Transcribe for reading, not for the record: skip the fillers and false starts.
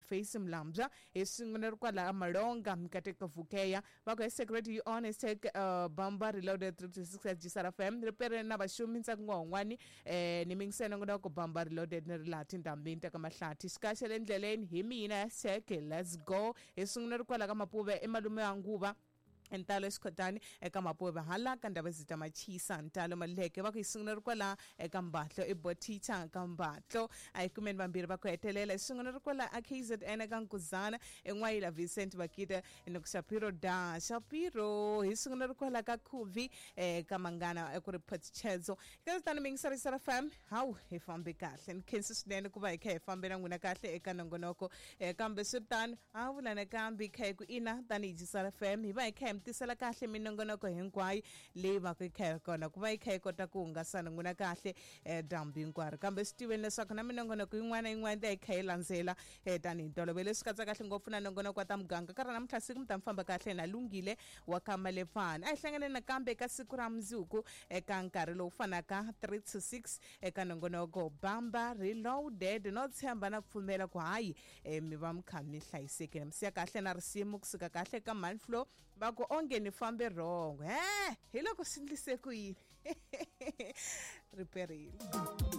Face Mlambya hi swin'we ri kwala Malonga Mikateko Vukeya va ku hashtag radio on hashtag Bamba Reloaded 326 at Gisara FM ri pere na vaxumi ntsaku n'wahun'wani ni mingisela nongonoko Bamba Reloaded ni ri laha tindhambini ta ka Mahlathi xikaxa le ndleleni hi mina hashtag let's go hi swin'we ri kwala ka Mapuve i malume wa nguva Ntalo eXikhotani eka Mapuve hala ka Ndhavezita Machisa Ntalo Maluleke va ku hi sungula ri kwala eka Mbatlo i Bothicha ka Mbatlo a hi kumeni vambirhi va ku hetelela hi sungula ri kwala a KZN eka Nkuzana en'wayila Vincent Vakita ni ku Shapiro da Shapiro hi sungula ri kwala ka Khuvi ka Mangana ku ri Phatchedzo ka tani mingisari Sara FM hawu hi fambe kahle ni khensi swinene ku va hi kha hi fambe na n'wina kahle eka nongonoko kambe swi ri tano a vula nakambe hi kha hi ku ina tanihi Jisara FM hi va hi kha hi mi tisela kahle minongonoko hinkwayo leyi va ku yi kha yi ri kona ku va yi kha yi kota ku hungasana n'wina kahle dyambu hinkwaro kambe swi tiveni leswaku na minongonoko yin'wana na yin'wana ta yi kha yi landzela tanihi ntolovelo leswi katsa kahle ngopfu na nongonoko wa ta muganga ka ra namuntlha siku mi ta mi famba kahle na Lunghile wa ka Malefana a hi hlangane nakambe eka siku ra mundzuku eka nkarhi lowu fanaka 3 to 6 eka nongonoko Bamba Reloaded no tshemba na ku pfumela ku hayi mi va mi kha mi hlayisekile mi siya kahle na risimu kusuka kahle ka Manflow va ku onge ni fambe wrong he hi loko swi ndlise ku yini ri perile.